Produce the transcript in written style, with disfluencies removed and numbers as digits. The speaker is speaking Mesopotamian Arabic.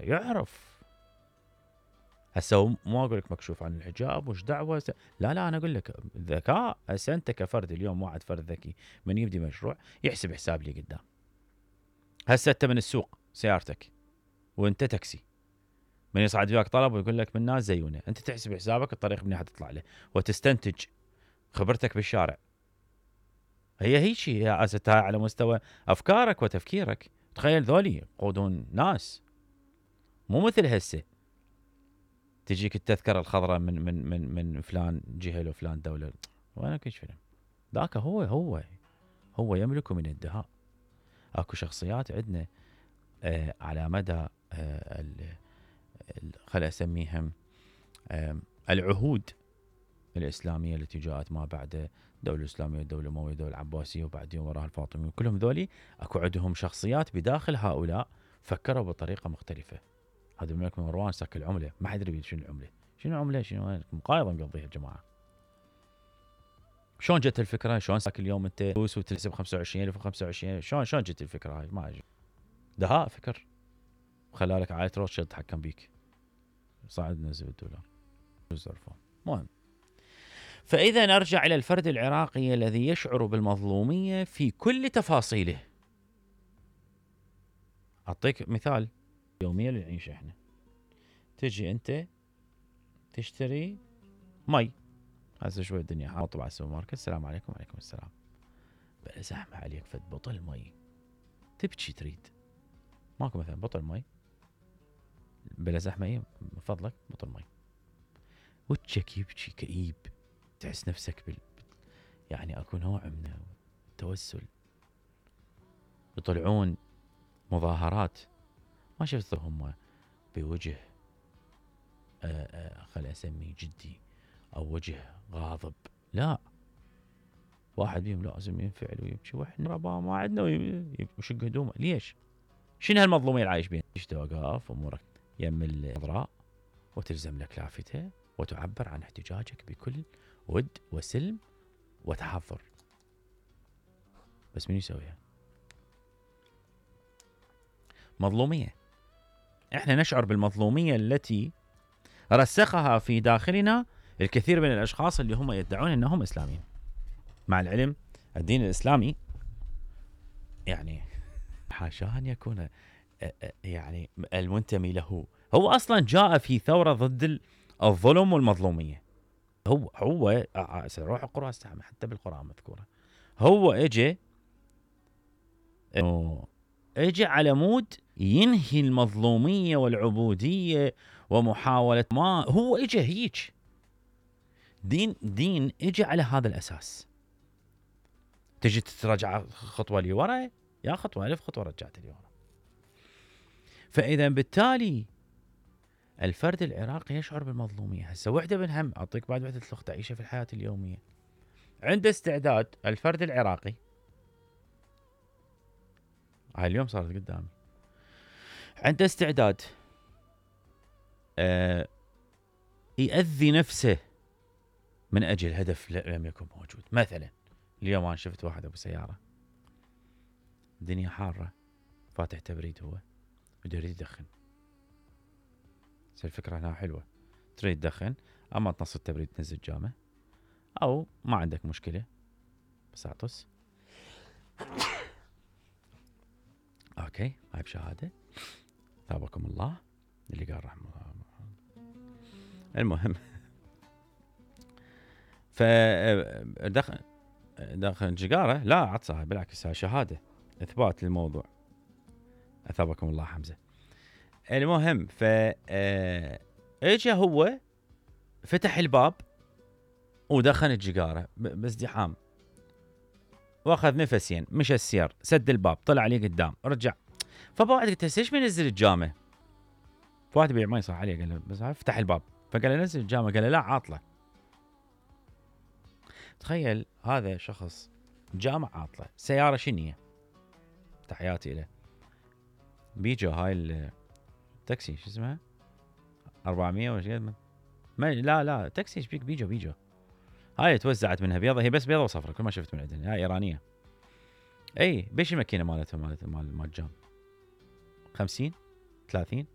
يعرف. هسه مو اقول لك مكشوف عن الحجاب وش دعوه، لا انا اقول لك ذكاء. هسه انت كفرد اليوم، واحد فرد ذكي من يبدي مشروع يحسب حساب لي قدام. هسه انت من السوق سيارتك وانت تاكسي، من يصعد وياك طلب ويقول لك من ناس زيونه، انت تحسب حسابك الطريق منين حتطلع له، وتستنتج خبرتك بالشارع. هي هيجي هاي على مستوى افكارك وتفكيرك. تخيل ذولي يقودون ناس، مو مثل هسه تجيك التذكره الخضراء من فلان جهه وفلان دوله. وانا كل فيلم ذاك هو يملك من الدهاء. اكو شخصيات عندنا على مدى خل اسميهم العهود الاسلاميه التي جاءت ما بعد الدوله الاسلاميه، الدوله الامويه، الدوله العباسيه، وبعدين وراها الفاطميه، كلهم ذولي اكو عندهم شخصيات بداخل هؤلاء فكروا بطريقه مختلفه. هذا الملك مروان ساك العمله، ما حد يدري شنو العمله، شنو عمله، شنو مقايضه مقضيها يا جماعه. شلون جت الفكره؟ شلون ساك اليوم انت فلوس وتكسب 25,000 و25,000؟ شلون جت الفكره هاي؟ ما أجي. دهاء فكر، خلالك عائله روتشيلد تحكم بيك، صعد نزل الدولار الزرفون. مهم. فاذا نرجع الى الفرد العراقي الذي يشعر بالمظلوميه في كل تفاصيله. اعطيك مثال يوميا اللي نعيشه احنا. تجي انت تشتري مي، هسه شوي الدنيا حاطه على السوبر ماركت، السلام عليكم. وعليكم السلام. بلا زحمه عليك فد بطل مي، تبكي تريد، ماكو مثلا بطل مي بلا زحمه، من فضلك بطل مي، وجهك يبكي كئيب، تحس نفسك يعني اكو نوع من التوسل. يطلعون مظاهرات ما شفتهم بوجه خل اسميه جدي او وجه غاضب، لا، واحد بيهم لازم ينفعل ويبكي، واحنا ربا ما عندنا ويشق هدومه. ليش؟ شنو هالمظلوميه اللي عايش بيها؟ تشتي وقاف امورك يم الخضراء وتلزم لك لافته وتعبر عن احتجاجك بكل ود وسلم وتحضر، بس من يسويها؟ مظلوميه. احنا نشعر بالمظلوميه التي رسخها في داخلنا الكثير من الاشخاص اللي هم يدعون انهم اسلاميين، مع العلم الدين الاسلامي يعني حاشا ان يكون يعني المنتمي له هو اصلا جاء في ثوره ضد الظلم والمظلوميه. هو سروح القرآن استعمل حتى بالقرآن مذكوره. هو اجى على مود ينهي المظلوميه والعبوديه ومحاوله، ما هو اجى هيك دين اجى على هذا الاساس. تجي ترجع خطوه لورا، يا خطوه الف خطوه رجعت لورا. فاذا بالتالي الفرد العراقي يشعر بالمظلوميه. هسه وحده من هم اعطيك بعد وحده الاخت تعيشه في الحياه اليوميه. عنده استعداد الفرد العراقي، هاي اليوم صارت قدامي، عنده استعداد يأذي نفسه من اجل هدف لم يكن موجود. مثلا اليوم انا شفت واحد ابو سياره، الدنيا حاره، فاتح تبريد، هو يريد يدخن. الفكره هنا حلوه، تريد تدخن، اما تنص التبريد تنزل جامه، او ما عندك مشكله بس اعطس اوكي هاي بشهاده ثابكم الله اللي قال رحمه الله. المهم دخن جيجاره، لا عطسها بالعكس، هاي شهاده اثبات للموضوع، اثابكم الله حمزه. المهم اجى هو فتح الباب ودخن الجيجاره بازدحام، واخذ نفسين، مشى السير، سد الباب، طلع عليه قدام، رجع. فبعد قلت ليش ما ينزل الجامه؟ فواحد بيع ما يصح عليه، قال له بس افتح الباب، فقال له نزل الجامه، قال له لا عاطله. تخيل هذا شخص جامع عاطله، سياره شنيه، تحياتي له، بيجو هاي التاكسي شو اسمها 400 وش قد لا تاكسي ايش بيك، بيجو هاي توزعت منها بيضه، هي بس بيضه وصفرة كل ما شفت من عندنا، هاي ايرانيه. اي بيش الماكينه مالتهم مال جام 50 30